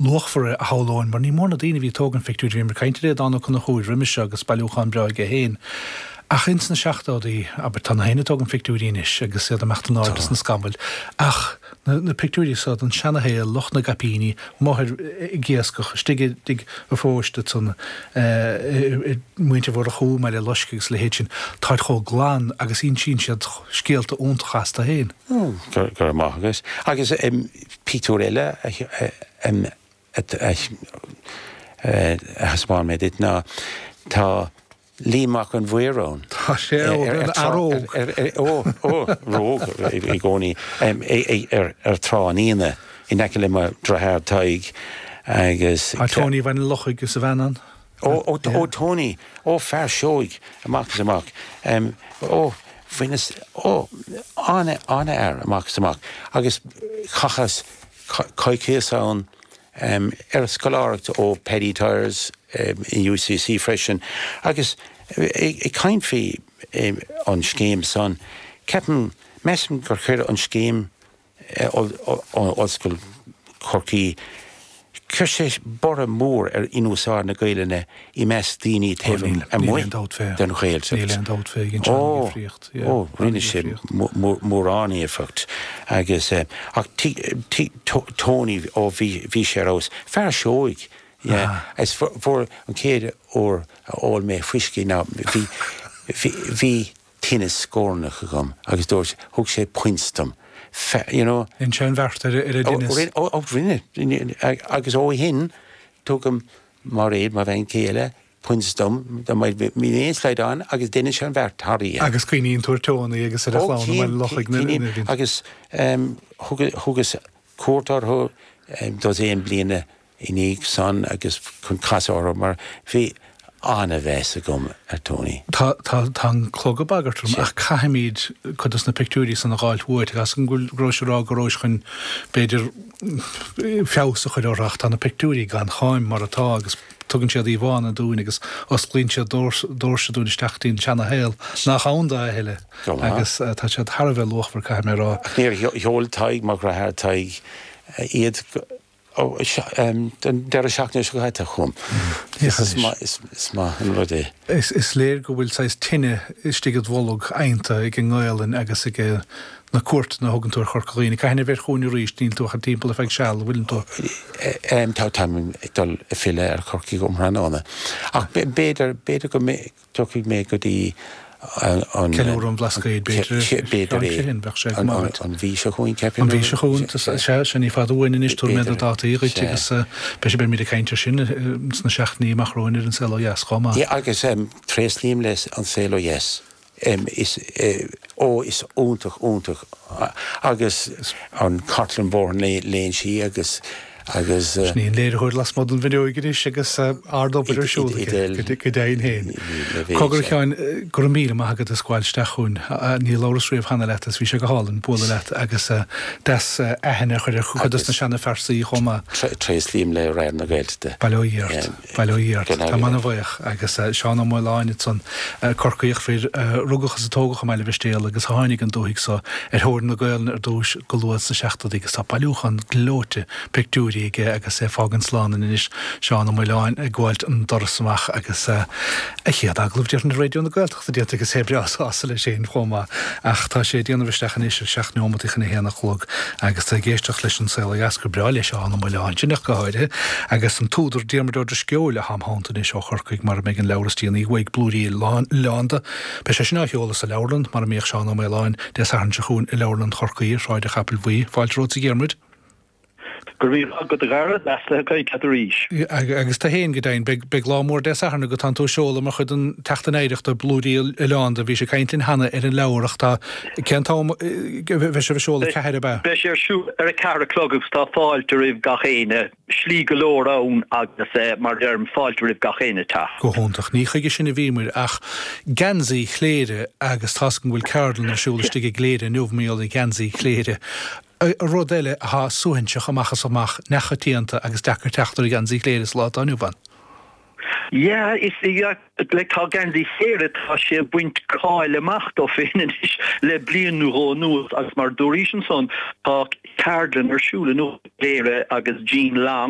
Luachmhar a shamhlóinn, mar ní mór na daoine a bhí ag tógaint phictiúirí, bhíomar ag caint ar Aodán Ó Conchúir roimis seo agus bailiúchán breá aige féin. Ach ins na seachtóidí, abair, tá na héinne ag tógaint phictiúirí anois agus iad ag imeacht in airde sna scamaill, ach na na pictiúirí so den seana-shaol, lucht na gcaipíní, amuigh ar ag iascach, istigh i dtigh an pháiste ansan, i muintir Mhurchú i mBaile Loiscthe agus a leithéid sin, táid chomh glan agus insíonn siad scéalta iontacha astu féin. Go raibh maith agat. Agus pictiúr eile a thaispeáin mé duit ná tá Liam Mac an Mhaoir ann. Tá sé óg, an fear óg. Ó, ó, óg i gcónaí. Ar Trá an Fhíona in aice le mo dhriotháir Tadhg agus. Tá Tony Bhaile an Lochaigh is a bhean ann. Ó, ó, ó Tony, ó fear seoigh amach is amach. Ó, bhaineas, ó, an-fhear amach is amach. Agus chaitheas coicíos ann ar scoláireacht ó Paddy Tyers in UCC freisin. Agus ag caint faoi an scéim san, ceapaim, measaim gur chuir an scéim Ollscoil Chorcaí. Chuir sé borradh mór ar in-úsáid na Gaelainne i measc daoine taobh amuigh den Ghaeltacht. Níl aon dabht fé, dhein sé an-difríocht. Ó, rinne sé mórán éifeacht agus, ach Tony, ó bhí sé ar fheabhas. Fear seoigh, yeah. Is fuair an chéad uair a ól mé fuiscí ná bhí, bhí, tinneas scornach agam agus dúirt, thug sé puins dom, you know. Dhein sé an bheart ar an dtinneas. Ó, ó, rinne, agus ó shin tugann Mairéad, mo bhean chéile, puins dom, dá mbeadh aon slaghdán agus deineann sé an bheart thar oíche. Agus cuimhníonn tú ar Tony agus ar a chlann i mBaile Lochaigh nuair a bhíonn. Agus thugas cuairt orthu dosaen bliana i ndiaidh san agus chun casadh orthu mar bhí an-mheas agam ar Tony. Tá, tá, tá an clog ag bagairt orm ach caithfimid cuid dos na pictiúirí san a dh'fháilt uait. Tá 'fhios agam go bhfuil, go rabhais ag rá go rabhais chun, b'fhéidir, feabhas a chur orthu ach tá na pictiúirí gan cháim mar atá agus tugann siad íomhánna dúinn agus osclaíonn siad doirse dúinn isteach dtí an seana-shaol nach ann dó a thuilleadh agus tá siad thar a bheith luachmhar, caithfidh mé a rá. Ach níor sheol Tadhg, mo dhriotháir Tadhg, iad go. An deireadh seachtaine seo caite chugam. Is maith an rud é. Is léir go bhfuil saghas tine istigh id bholg adhanta ag an nGaelainn agus ag na cuairteanna a thugann tú ar Chorca Dhuibhne. Cathain a bheir chugainn arís? Níl tú ach timpeall ar feadh seal, an bhfuileann tú? Tá, táim ag dul ag filleadh ar Chorcaigh um thráthnóna. Ach b'fhéidir, b'fhéidir go Tiocfaidh mé go dtí an. Ceiliúradh an Bhlascaoid, b'fhéidir. B'fhéidir é. Bheadh sé go maith duit. An mhí seo chugainn, ceapaim. An mhí seo chugainn, sea, sea, ní fada uainn anois, tabharfaidh mé na dátaí dhuit agus beidh sé, beimid ag caint air sin sna seachtainí amach romhainn ar An Saol Ó Dheas chomh maith. Yeah, agus tréaslaím le An Saol Ó Dheas. Is, ó, is iontach, iontach agus an chartlann Bhóthar na Léinsí agus, agus. Sin í an léiritheoir lasmuigh den bhfuinneoig anois agus ard-obair ar siúl aici, go deimhin féin. Cogar a Sheáin, go raibh míle maith agat as gabháil isteach chugainn. Ní labhras riamh cheana leat agus bhí sé go hálainn bualadh leat agus deas aithne a chur ar chuid dos na seana-phearsaí chomh maith. Tréaslaím le Raidió na Gaeltachta. Bail ó Dhia ort. Bail ó Dhia ort. Táim ana-bhuíoch. Agus Seán Ó Maoláin ansan, Corcaíoch fir a rugadh is a tógadh i mBaile Mhistéal agus a tháinig an dúthaigh so ar thóir na Gaelainne ar dtúis go luath sna seachtóidí agus tá bailiúchán gleoite pictiúirí aige agus é ag fágaint slán linn anois, Seán Ó Maoláin ag gabháilt an doras amach agus a chéad agallamh déarfainn ar Raidió na Gaeltachta déanta agus é breá sásta leis féin chomh maith. Ach tá sé ag déanamh isteach anois ar sheacht neomataí chun a haon a chlog agus tá ag éisteacht leis An Saol Ó Dheas gur breá le Seán Ó Maoláin sin ach go háirithe agus an t-údar Diarmuid Ó Drisceoil atá im theannta anois ó Chorcaigh mar a mbeidh an leabhar is déanaí uaidh, Blúirí Oileánda. Beidh sé sin á sheoladh sa leabharlann mar a mbíodh Seán Ó Maoláin Dé Sathairn seo chugainn i Leabharlann Chorcaí ar Shráid an Chapaill Bhuí. Fáilte romhat a Dhiarmuid. Go raibh míle maith agat a Dhara, deas a bheith ag caint leat arís. Agus tú féin go deimhin. Beidh, beidh lá mór Dé Sathairn agat, tánn tú ag seoladh mar chuid den tSeachtain Oidhreachta, Blúirí Oileánda. Bhís ag caint linn cheana ar an leabhar ach tá, cén t-am a bheidh sibh ag seoladh, 4 ab ea? Beidh sé ar siúl ar a 4 a chlog agus tá fáilte roimh gach éinne, slí go leor ann agus mar a deirim, fáilte roimh gach éinne teacht. Go hiontach. Ní chuige sin a bhíomair ach geansaí Chléire agus tá's agam go bhfuil ceardlann ar siúl istigh i gCléire inniu mar gheall ar gheansaí Chléire. Rud eile atá suaithinseach amach is amach, neamhchoitianta agus deacair teacht ar gheansaí Chléire sa lá atá inniu ann. Yeah, is yeah, like tá geansaí Chléire, tá sé ag baint cáil amach dó féin anois le bliain nó dhó anuas agus mar dúraís ansan, tá ceardlann ar siúl inniu i gCléire agus Jean Long.